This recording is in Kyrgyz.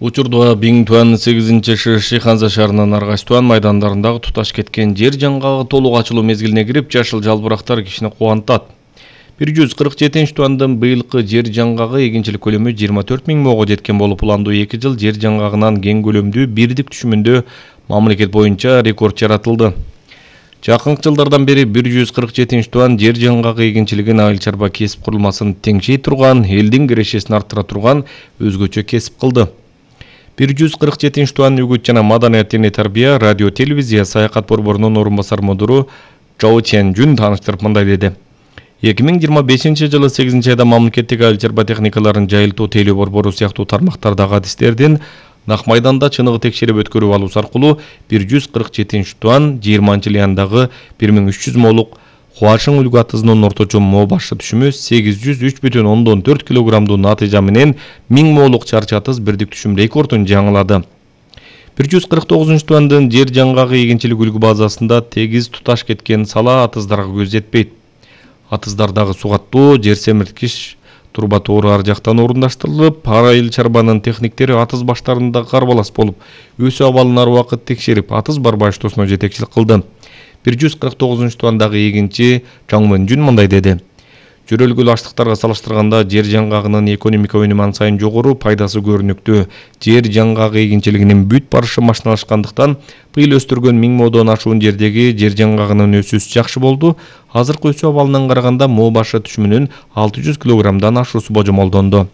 Учурда Биңтуан 8-ши Ханза шаарынын Аргачтуан майдандарындагы туташ кеткен жер жаңгагы толук ачылуу мезгилине кирип, жашыл жалбырактар кишини кубантат. 147-туандын быйылкы жер жаңгагы эгинчилик көлөмү 24 000 мого жеткен болуп, уландуу 2 жыл жер жаңгагынан кең көлөмдүү бирдик түшүмүндө мамлекет боюнча рекорд жаратылды. Жакынкы жылдардан бери 147-туан жер жаңгагы эгинчилигин айыл чарба кесип курулмасын теңшей турган, элдин кирешесин арттыра турган өзгөчө кесип кылды. 147-туан үгүт жана маданият жана тарбия, радио телевизия саякат борборунун орун басар мудуру Чжао Чэнжүн тааныштырып мындай деди. 2025-жылы 8-айда мамлекеттик айыл чарба техникаларын жайылтуу тейлөө борбору сыяктуу тармактардагы адистердин Нак майданда чыныгы текшерип өткөрүп алуу аркылуу 147-туан 20-жыл яндагы 1300 молук Хуашың үлгү атызынын орточо мо башы түшүмү 803,4 килограммдуу натыйжа менен 1000 молук чарчы атыз бирдик түшүм рекордун жаңылады. 149-туандын жер жаңгагы эгинчилик үлгү базасында тегиз туташ кеткен сала атыздарга көз жетпейт. Атыздардагы сугаттоо, жер семирткич турбатоору ар жактан орундаштырылып, айыл чарбанын техниктери атыз баштарында карбалас болуп, өсүү абалын ар убакыт текшерип, атыз бар баштоосуна жетекчилик кылды. 149-туандагы эгинчи Чаң Мөнжүн мындай деди. Жөрөлгүл аштыктарга салыштырганда жер жаңгагынын экономика өнүмү ан сайын жогору, пайдасы көрүнүктүү. Жер жаңгагы эгинчилигинин бүт барышы машиналашкандыктан быйыл өстүргөн 1000 модон ашуун жердеги жер жаңгагынын өсүүсү жакшы болду. Азыркы өсүү абалынан караганда мо башы түшүмүнүн 600 килограммдан ашуусу божомолдонду.